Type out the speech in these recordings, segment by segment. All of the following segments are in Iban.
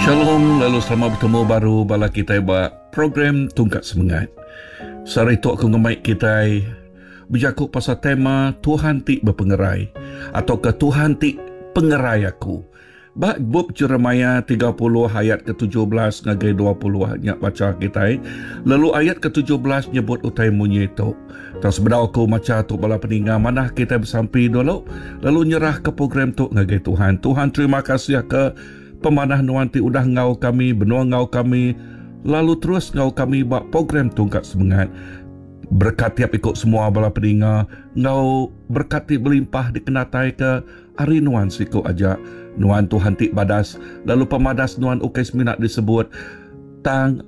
Shalom lalu selamat betemu baru bala kitai ba program Tungkat Semengat. Sehari tu aku ngemai kitai bejaku pasal tema Tuhan ti bepengerai atauka Tuhan ti pengerai aku. Ba bup Jeremiah 30 ayat ke-17 ngagai 20 nya bacha kitai, lalu ayat ke-17 nyebut utai munyi tu. Tang sebedau aku macha tu bala peninga manah kitai besampi dulu lalu nyerahka program tu ngagai Tuhan. Tuhan terima kasih ke pemanah nuan ti udah enggau kami, benung enggau kami lalu terus enggau kami ba program Tungkat Semengat. Berekat tiap iku semua bala peninga enggau berekat ti belimpah dikenataika Ari nuan siku aja. Nuan Tuhan ti badas, lalu pemadas nuan ukai semina disebut, tang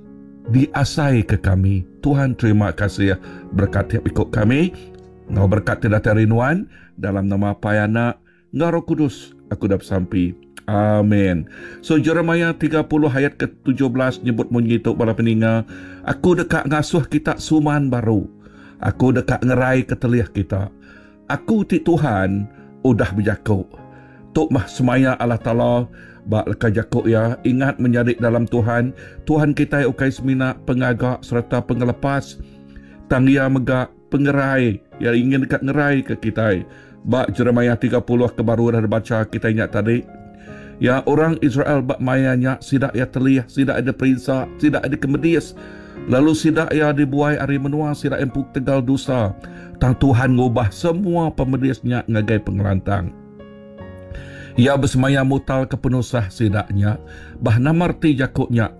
diasaika kami. Tuhan terima kasih berekat tiap iku kami enggau berekat ti datai ari nuan, dalam nama Apai Anak enggau Roh Kudus aku udah besampi. Amen. So Jeremiah 30 ayat ke 17 nyebut munyi tu bala peninga, Aku deka ngasuh kita suman baru. Aku deka ngeraika telih kita. Aku ti Tuhan udah bejaku. Tu mah semaya Allah Taala ba leka jaku Iya, Ingat menyadi dalam Tuhan, Tuhan kitai ukai semina pengaga sereta pengelepas, tang Iya mega pengerai. Iya ingin deka ngeraika kitai. Ba Jeremiah 30 ke baru udah dibacha kitai nya tadi, Ya, orang Israel ba maya nya sida iya telih, sida iya diperinsa, sida iya dikemedis, lalu sida iya dibuai ari menua sida empu ketegal dosa. Tang Tuhan ngubah semua pemedis nya ngagai pengelantang. Iya besemaya mutalka penusah sida nya. Bah nama reti jaku nya?